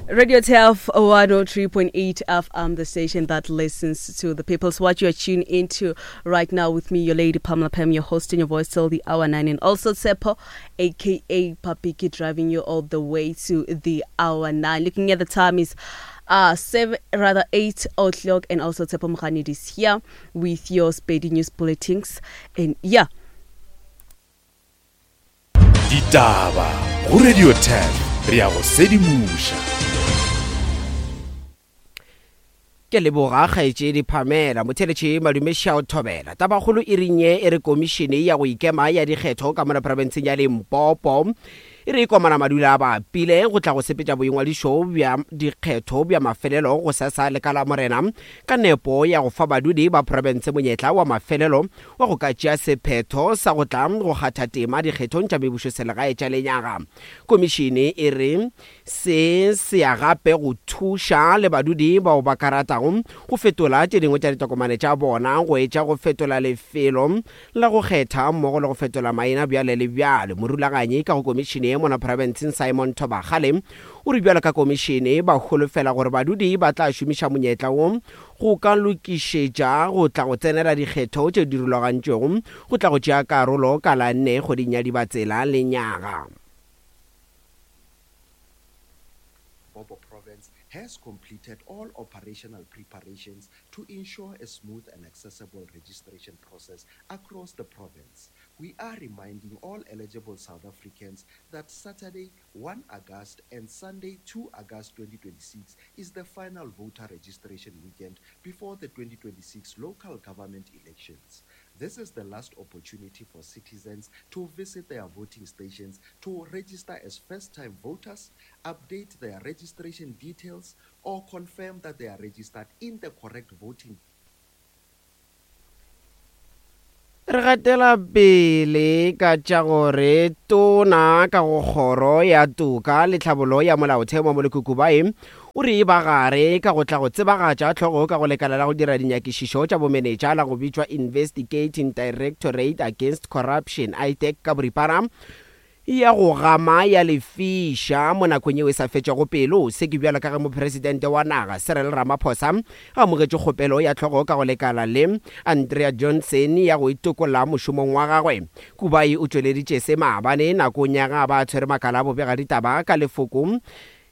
Radio Turf 103.8 FM, the station that listens to the people. So what you are tuned into right now with me, your lady Pamela Pam, your host in your voice till the hour 9, and also Tsepo, aka Papiki, driving you all the way to the hour 9. Looking at the time is 7, rather 8 o'clock, and also Tsepo Mkhanid is here with your Spady News Bulletins. And yeah. Ditaba go Radio 10 re ya go sedimoša. Ke leboga kgaetšedi Pamela Motheletše Madume Shao Thobela. Tabakgolo e reng ye e re komišene ya go ikema ya dikgetho ka mona profenseng ya Limpopo e re komana madula a bapile go tla go sepetša boingwadišo bja dikgetho bja mafelelo go sesa le ka Lamorena ka nepo ya go fa badudi ba profense monyetla wa mafelelo wa go ka tšea sephetho sa go tla go kgatha tema dikgethong tša mebušoselegae tša lenyaga. Komišene e re se se ya gape go thuša le badudi bao ba ka ratago go fetola tše dingwe tša ditokomane tša bona go etša go fetola lefelo la go kgetha mmogo le go fetola maina bjale le bjale. Morulaganyi ka go komišene ye mona profenseng Simon Thobakgale o re bjalo ka komišene ba holofela gore badudi ba tla šomiša monyetla wo go ka lokišetša go tla go tsenela dikgetho tše di rulagantšwego go tla go tšea karolo ka la nne kgweding ya Dibatsela lenyaga. Limpopo Province has completed all operational preparations to ensure a smooth and accessible registration process across the province. We are reminding all eligible South Africans that Saturday, 1 August and Sunday, 2 August 2026 is the final voter registration weekend before the 2026 local government elections. This is the last opportunity for citizens to visit their voting stations to register as first-time voters, update their registration details, or confirm that they are registered in the correct voting Re gatela pele ka tša gore Tona ka go Kgoro ya Toka le Tlhabollo ya Molaotheo Mamoloko Kubayi o re e ba gare ka go tla go tsebagatša hlogo ka go lekala la go dira dinyakišišo tša bomenetša la go bitšwa Investigating Directorate Against Corruption, IDAC, ka boripana ya go gama ya lefiša mo nakong yeo e sa fetšego pelo. Se ke bjalo ka ge Mopresidente wa naga, Cyril Ramaphosa, a amogetše kgopelo ya hlogo ka go lekala le Andrea Johnson ya go itokolla mošomong wa gagwe. Kubayi o tšweleditše se maabane nakong ya ge a ba a tshwere makala a bobegaditaba ka lefoko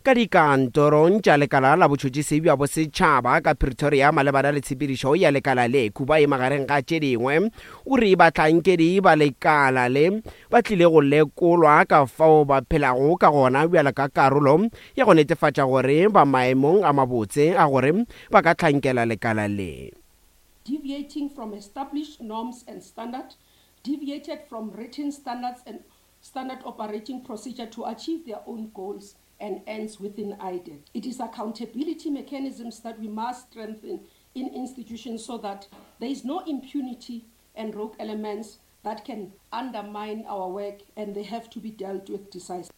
Ka dikantorong tša Lekala la Botšhotšhisi bja Bosetšhaba ka Pretoria malebana le tshepedišo ya lekala le, Kubayi magareng ga tše dingwe o re bahlankedi ba lekala le ba tlile go lekolwa ka fao ba phelago ka gona bjalo ka karolo ya go netefatša gore ba maemong a mabotse a gore ba ka hlankela lekala le. Deviating from established norms and standard, deviated from written standards and standard operating procedure to achieve their own goals and ends within IDEC. It is accountability mechanisms that we must strengthen in institutions so that there is no impunity and rogue elements that can undermine our work and they have to be dealt with decisively.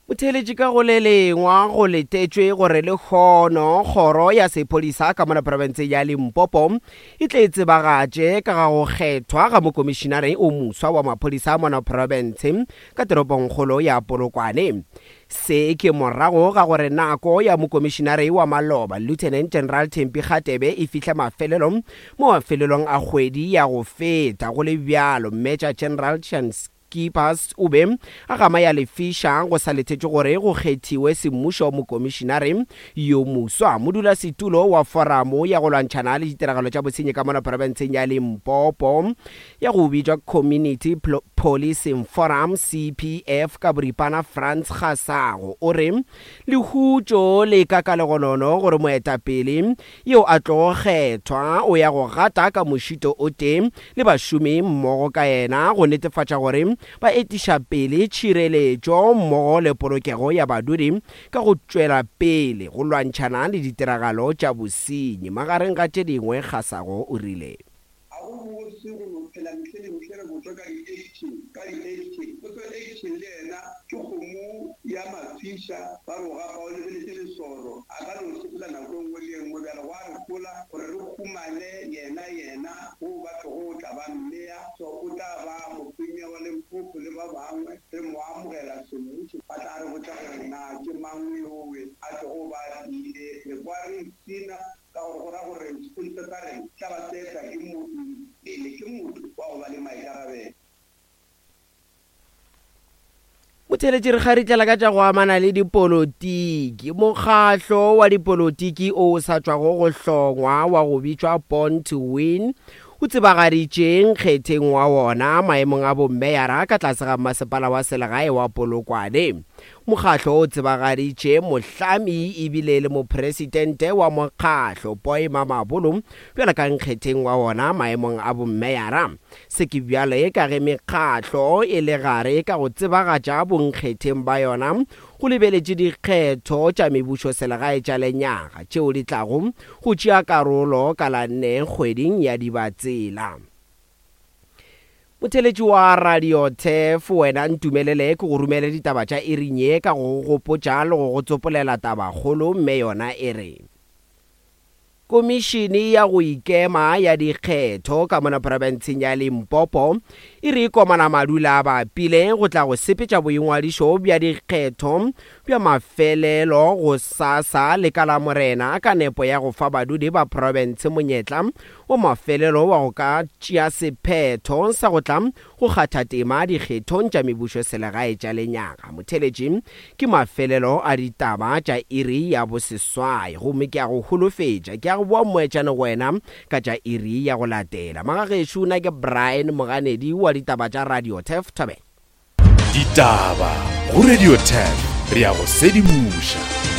Motheeletši ka go le lengwa go letetšwe gore lehono kgoro ya sephodisa ka mola profenseng ya Limpopo e tle e tsebagatše ka ga go kgethwa ga mokomišinare o moswa wa maphodisa mona profense ka toropongkgolo ya Polokwane. Se ke morago ga gore nako ya mokomišinare wa maloba Lieutenant General Thembi Kgatebe e fihle mafelelo mo mafelelong a kgwedi ya go feta. Go le bjalo, Major General Keepers o be a gama ya lefiša go sa letetšwe gore go kgethiwe semmušo mokomišinare yo moswa. Modulasetulo wa Foramo ya go lwantšhana le ditiragalo tša bosenyi ka mola profenseng ya Limpopo ya go bitšwa Community Policing Forum, CPF, ka boripana Frans Kgasago o re lehutšo le ka ka legonono gore moetapele yo a tlogo kgethwa o ya go gata ka mošito o tee le bašomi mmogo ka yena go netefatša gore ba etiša pele tšhireletšo mmogo le polokego ya badudi ka go tšwela pele go lwantšhana le ditiragalo tša bosenyi, magareng ga tše dingwe, Kgasago o rile. Ga go bose go no phela mehle le mehle re botšwa ka di-action, ka di-action. Potso action le yena ke kgomo ya mafiša, ba re o gapa o lebeletše lesoro, a ka no sepela nako e nngwe le e nngwe. Bjale gwa re hola gore re humane yena, yena wo ba tlogo o tla ba mmea, so o tla ba mopremier wa Limpopo le ba bangwe, re mo amogela semmušo, ba tla re botša gore na. Motheeletši re kgaritlela ka tša go amana le dipolotiki. Mokgahlo wa dipolotiki o sa tšwago go hlongwa wa go bitšwa Born to Win o tsebagaditše nkgetheng wa wona maemong a bommeyara ka tlase ga mmasepala wa selegae wa Polokwane. Mokgahlo o tsebagaditše mohlami ebile e le mopresidente wa mokgahlo Boy Mamabolo bjalo ka nkgetheng wa wona maemong a bommeyara. Se ke bjale ka ge mekgatlo e le gare ka go tsebagatša bonkgetheng ba yona go lebeletše dikgetho tša mebušoselegae tša lenyaga tšeo di tlago go tšea karolo ka la nne kgweding ya Dibatsela. Motheeletši wa Radio Turf, wena ntumelele ke go romele ditaba tša iring ye ka go go gopotša le go go tsopolela tabakgolo mme yona e re. Komišene ya go Ikema ya Dikgetho ka mona profenseng ya Limpopo e re komana madula a bapile go tla go sepetša boingwadišo bja dikgetho bja mafelelo gosasa le ka Lamorena ka nepo ya go fa badudi ba profense monyetla wa mafelelo wa go ka tšea sephetho sa go tla go kgatha tema dikgethong tša mebušoselegae tša lenyaga. Motheeletši, ke mafelelo a ditaba tša iri ya boseswai, gomme ke a go holofetša, ke a go boa mmoetšane go wena ka tša iri ya go latela. Magagešo, na ke Brian Moganedi wa ditaba tša Radio Turf Thobela. Ditaba go Radio Turf, re a go sedimoša.